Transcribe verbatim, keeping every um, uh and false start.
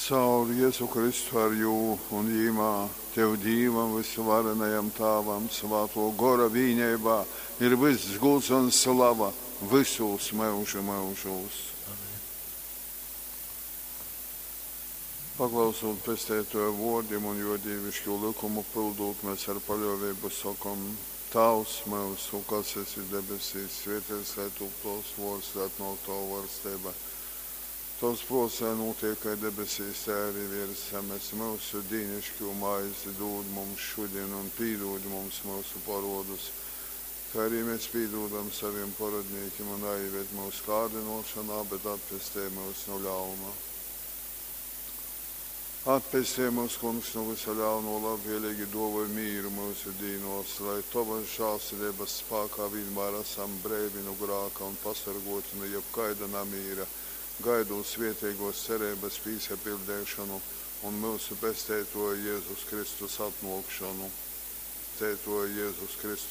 Caur Jezu Kristu ar Jū un Jīmā, Tev Dīvam vysuvarenajam Tāvam Svātō Gora vīneibā ir vyss gūds un slava vysūs myužu myužūs. Amen. Paklausūt Pesteitōja vōrdim un Jō dīviškū lykumu pyldūt, mes ar paļōveibu sokom: Tāvs myusu, kas esi debesīs, svēteits lai tūp Tovs vōrds, lai atnōk Tova valsteiba. Tovs prōts lai nūtiek kai debesīs, tai arī viers zemes. Myusu dīniškū maizi dūd mums šudin un pīdūd mums myusu porodus, kai arī mēs pīdūdam savim porodnīkim un naīved mūsu kārdinošanā, bet atpestej mūs no ļauna. Atpestej mūs, Kungs, no visa ļauno, labvēlīgi dāvoj mīru mūsu dīnos, lai Tavas žēlsirdības spēkā vienmēr esam breivi no grāka un pasargoti no jebkaida namīra, gaidot svētīgos cerības pīsapildīšanu un mūsu Pesteitoja Jēzus Kristus atnākšanu. Pesteitoja Jēzus Kristus